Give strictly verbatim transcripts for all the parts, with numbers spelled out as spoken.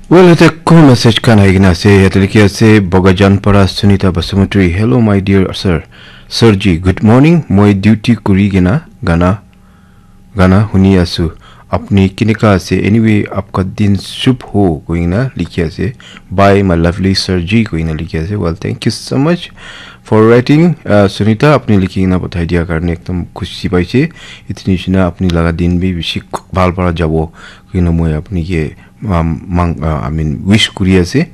Well, yate ko message khan ahi kena ase, yate likhi ase, Bogajan para Sunita Basumatri. Hello, my dear sir. Sir ji, good morning. Moi duty kuri kena gana, gana huni asu. Apni kineka ase? Anyway, apka din shubh ho, koi kena likhi ase. Bye, my lovely sir ji, koi kena likhi ase. Well, thank you so much for writing, uh, Sunita. Apni likhi kena pathai dia karne ekdom khushi paise. Itni shina apni laga din bi bishi bhal para jabo, koi kena moi apni ke, um, mang, uh, I mean, wish kuri ase.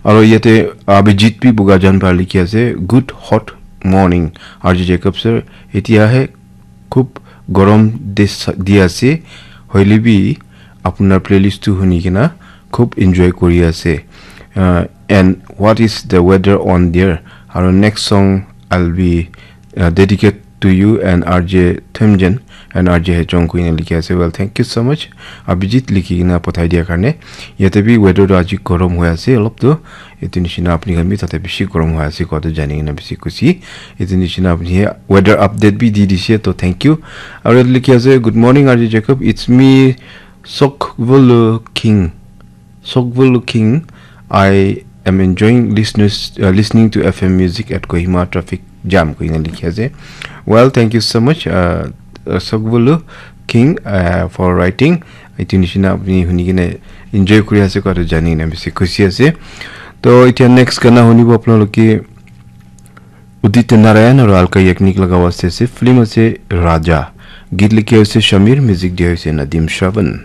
Aro yate Abhijit bi Bogajan para likhi ase, "Good hot morning, R J Jacob sir. Etia he khub gorom dis-, di ase. Hoile bi apunar playlist tu huni kena khub enjoy kuri ase. Uh, and what is the weather on there?" Aro next song I'll be, uh, dedicate to you and R J Themjen and R J Hechong, koi kena likhi ase. Well, thank you so much, Abhijit, likhi kena pathai dia karne. Yate bi weather tu aji gorom hoi ase olop tu. Etu nishina apni khan bi tate bishi gorom hoi ase kowa tu jani kena bishi khushi. Etu nishina apni he weather update bi di dise, to thank you. Aro yate likhi ase, "Good morning, R J Jacob. It's me, Sokvulu King. Sokvulu King. I am enjoying listeners, uh, listening to F M music at Kohima traffic jam," koi kena likhi ase. Well, thank you so much, uh, uh, Sokvulu King, uh, for writing. Etu nishina apni huni kena enjoy kuri ase kowa tu jani kena bishi khushi ase. To etia next gana hunibo apnaloke Udit Narayan aro Alka Yagnik laga waste ase. Film ase Raja. Geet likhi ase Shamir, music dia ase Nadim Shravan.